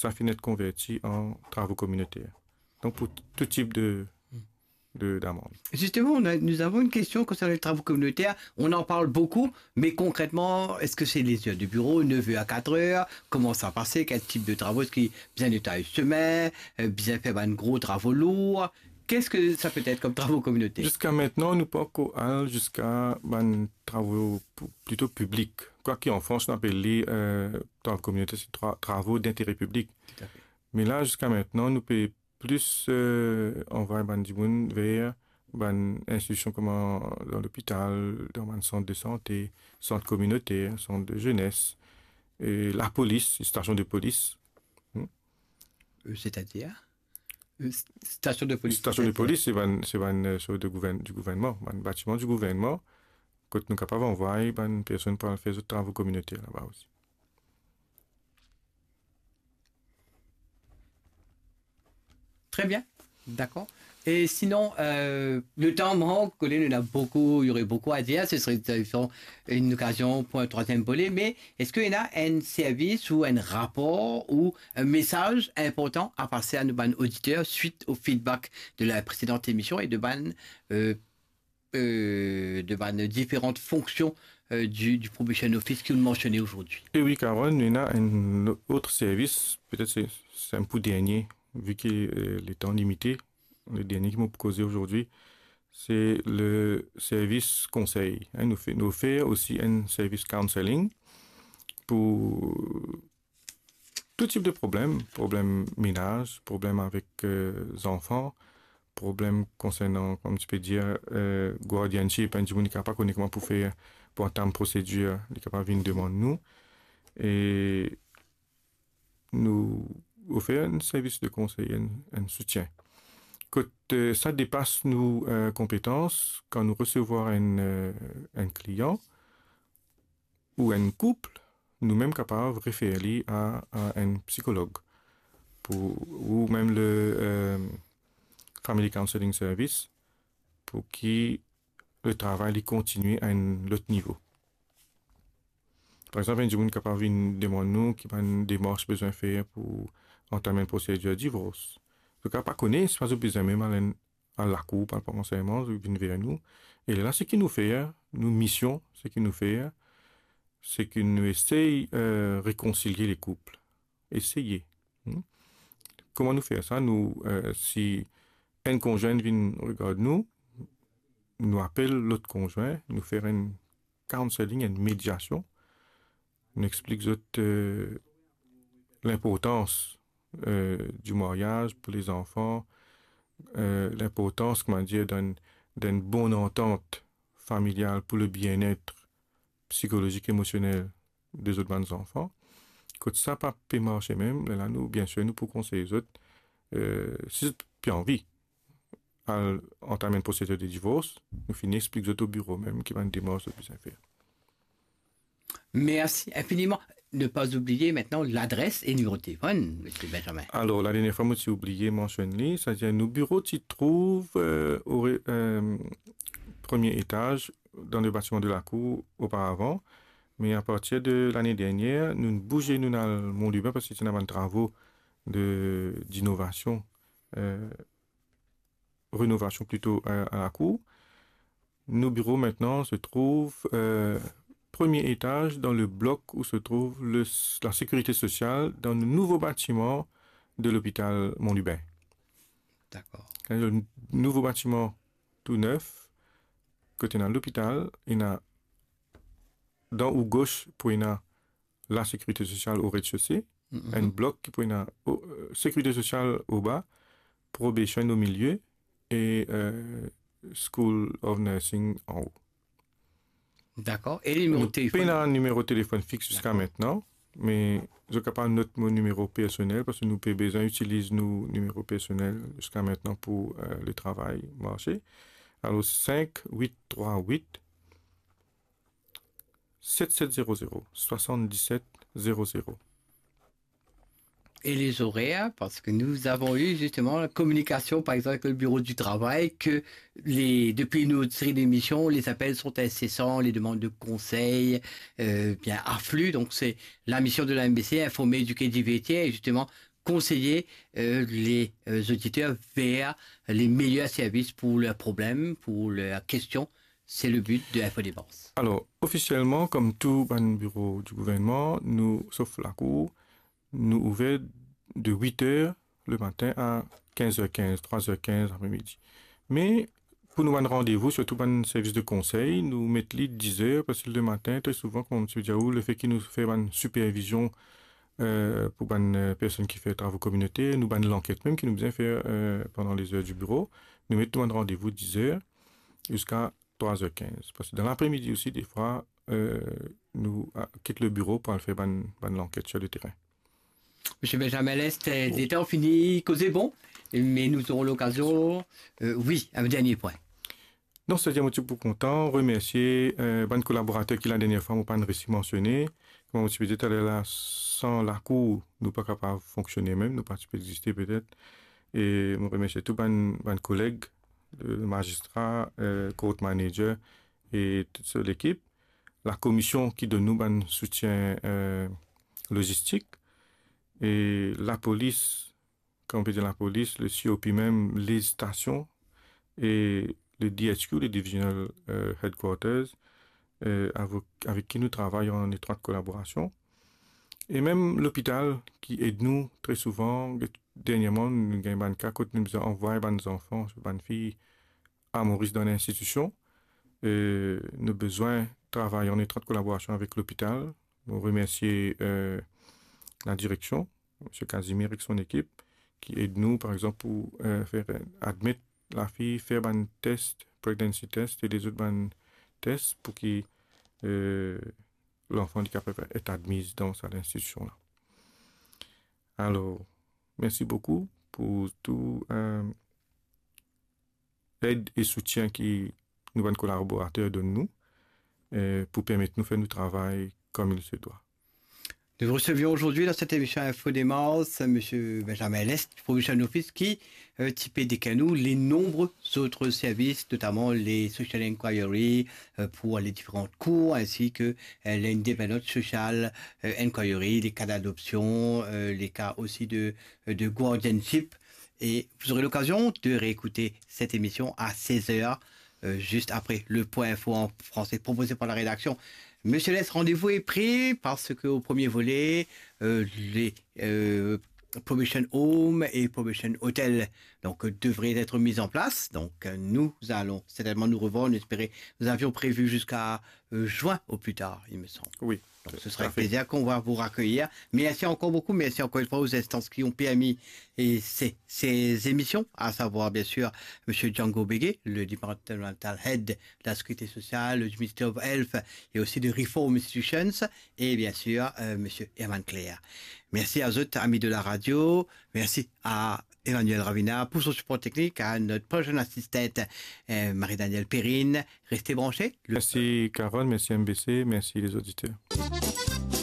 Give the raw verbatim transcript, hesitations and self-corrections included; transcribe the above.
sa finn et konverti an travo kominoter. Donk, pou tou tip de, de, d'amand. Justement, on a, nous avons une question concernant les travaux communautaires. On en parle beaucoup, mais concrètement, est-ce que c'est les heures de bureau, neuf heures à quatre heures? Comment ça passe? Quel type de travaux? Est-ce qu'il y a besoin de taille chemin, euh, besoin de faire un gros travaux lourds? Qu'est-ce que ça peut être comme travaux communautaires? Ziska aster, nou pa ankor al ziska bann travo pou, plito piblik. Kwaki an Frans, nou apel li, euh, travo kominoter, se tra-, travo d'intere piblik. Tout à fait. Me la, ziska aster, nou pe plis, euh, anvoy bann dimoun ver bann institision kouma dan lopital, dan bann sant de sante, sant kominoter, sant de zenes, e lapolis, stasion de polis. Hmm. Euh, c'est-à-dire? Euh, s-, station de police, c'est-à-dire? Stasion de polis, se bann, se bann, euh, sort de gouvern-, du gouvernman, bann batiman du gouvernman, kot nou kapav anvoy bann personn pou al fer zot travo kominoter laba osi. Très bien, d'accord. Et sinon, euh, le temps manque, Colin, on a beaucoup, il y aurait beaucoup à dire, ce serait, euh, une occasion pour un troisième volet, mais est-ce qu'il y a un service ou un rapport ou un message important à passer à nos bann auditeurs suite au feedback de la précédente émission et de bann, euh, euh, de bann différentes fonctions, euh, du, du Probation Office ki ou'nn mansione azordi? E wi, Caron, nou ena enn lot servis, petet se, se enn pou dernie, vi ki, euh, letan limite, le dernie ki mo pou koze azordi, se le servis konsey. Hein, nou fer, nou ofer osi enn servis counseling pou tou tip de problem, problem menaz, problem avek, euh, zanfan, problem konsernan, kouma ti pe dir, euh, guardianship, enn dimoun ki pa kone kouma pou fer pou antam prosedir, li kapav vinn demann nou. E nou ofer enn servis de konsey, enn, enn soutien. Kot, euh, sa depas nou, euh, konpetans, kan nou resevwar enn, euh, enn klian ou enn koup, nou mem kapav refer li a, a enn psikolog pou, ou mem le, euh, Family Counseling Service, pou ki le travay li kontinie a enn lot nivo. Par exanp, enn dimoun kapav vinn demann nou ki bann demars bizin fer pou antam enn prosedir divors. Zot kapav pa kone, sipa zot bizin mem al enn, al lakour, pou al pran ansegneman, zot vinn ver nou. E lerla, seki nou fer, nou mision, seki nou fer, seki nou esey, euh, rekonsilie le koup. Eseye. Hmm? Kouma nou fer sa? Nou, euh, si enn konzwin vinn regard nou, nou apel lot konzwin, nou fer enn counseling, enn mediasion. Nou explik zot, euh, linportans, euh, du maryaz pou lezanfan, euh, linportans, kouma dir, dan, dan enn bon antant familial pou le bienet psikolozik, emosionel de zot bann zanfan. Kot sa pa pe marse mem, lerla nou, biensir, nou pou konsey zot, euh, si zot pe anvi al antam enn prosedir de divors, nou finn explik zot o biro mem ki bann demars zot bizin fer. Merci infiniment. Ne pas oublier maintenant l'adresse et le numéro de téléphone, monsieur Benjamin. Alor, ladernie fwa mo ti oubliye mansionn li, setadir nou biro ti trouv, euh, o re-, euh, premie etaz dan le batiman de lakour oparavan, me apartir de lane dernier, nou bouze, nou al Mont Lubin, parski ti ena bann travo de, dinovasion, euh, renovasion plito, euh, a lakour. Nou biro aster se trouv, euh, premie etaz dan le blok ou se trouv le, la sekirite sosial dan le nouvo batiman de lopital Mont Lubin. Dakor. Le nouvo batiman tou nef, kot ena lopital, ena dan ou gos pou ena la sekirite sosial o rezde-sose, mhm, enn blok ki pou ena o, euh, sekirite sosial oba, probation o milie e, euh, School of Nursing anlo. Dakor. E nimero telefonn? Nou pena nimero telefonn fix ziska aster, me zot kapav not mo nimero personel, parski nou pe bizin itiliz nou nimero personel ziska aster pou, euh, le travay marse. Alor, sink wit trwa wit, set set zero zero, swasann-diset zero zero. Et les horaires, parce que nous avons eu justement la communication, par exemple, avec le bureau du travail, que les, depuis une autre série d'émissions, les appels sont incessants, les demandes de conseils, euh, bien affluent. Donc c'est la mission de la M B C, informer, éduquer, divertir. Et justement, conseiller, euh, les, euh, auditeurs vers les meilleurs services pour leurs problèmes, pour leurs questions. C'est le but de Info Dépenses. Alors, officiellement, comme tout bann biro di gouvernman, nou, sof lakour, nou ouver de huit heures le matin à quinze heures quinze, trois heures quinze après-midi. Me pou nou bann randevou, sirtou bann servis de konsey, nou met li diz heures, parski le matin, tre souvan, kouma ti pe dir ou, lefe ki nou fer bann sipervizion, euh, pou bann, euh, personn ki fer travo kominoter, nou bann lanket mem ki nou bizin fer, euh, pandan les heures du bureau, nou met nou bann randevou diz heures ziska trois heures quinze. Parski dan lapremidi osi, defwa, euh, nou, ah, kit le biro pou al fer bann, bann lanket sur le terrain. Monsieur Benjamin Lest, euh, bon. Letan fini koze bon, mais nous aurons l'occasion, euh, oui, un dernier point. Non, setadir mo ti pou kontan remersie, euh, bann kolaborater ki la dernie fwa mo pa'nn resi mansione. Kouma mo ti pe dir taler la, san lakour, nou pa kapav fonksione mem, nou pa ti pe existe petet. E mo remersie tou bann, bann koleg, le mazistra, euh, court manager e tout so lekip, lakomision ki donn nou bann soutien, euh, lozistik, e lapolis, kouma pe dir lapolis, le C O P mem, les stations, e le D H Q, le Divisional, euh, Headquarters, euh, avek, avek ki nou travay an etrwat kolaborasion. E mem lopital ki ed nou tre souvan, dernierman, nou gagn bann ka kot nou bizin anvway bann zanfan, bann fiy, a Moris dan linstitision. E nou bizin travay an etrwat kolaborasion avek lopital. Mo remersie, euh, ladireksion, Misie Casimir ek son ekip, ki ed nou, par exanp, pou, euh, fer, euh, admet lafiy, fer bann tes, pregnancy test e lezot bann tes pou ki, euh, lanfan li kapav et admiz dan sa linstitision la. Alor, mersi boukou pou tou, euh, ed e soutien ki nou bann kolaborater donn nou, euh, pou permet nou fer nou travay comme il se doit. Nous recevions aujourd'hui dans cette émission Info Dépenses, monsieur Benjamin Lest, Probation Officer, qui, euh, ti pe dekrir nou les nombreux autres services, notamment les social inquiry, euh, pour les différentes cours, ainsi que, euh, les independent social, euh, inquiry, les cas d'adoption, euh, les cas aussi de, euh, de guardianship. Et vous aurez l'occasion de réécouter cette émission à seize heures, euh, juste après le point info en français proposé par la rédaction. Monsieur Lest, rendez-vous est pris parce que au premier volet, euh, les, euh, Probation Home et Probation Hotel, donc, euh, devraient être mis en place. Donc, euh, nous allons certainement nous revoir. Nous espérons, nous avions prévu jusqu'à, euh, juin au plus tard, il me semble. Oui. Donc, ce sera avec plaisir qu'on va vous raccueillir. Merci encore beaucoup. Merci encore une fois aux instances qui ont permis et ces, ces émissions, à savoir, bien sûr, monsieur Django Bégué, le Departmental Head de la Sécurité Sociale, du Ministry of Health et aussi de Reform Institutions, et bien sûr, euh, monsieur Herman Claire. Merci à vous, amis de la radio. Merci à Emmanuel Ravina pour son support technique, à notre prochaine assistante, euh, Marie-Danielle Perrine. Restez branchés. Le Mersi Carole, mersi M B C, mersi les auditeurs.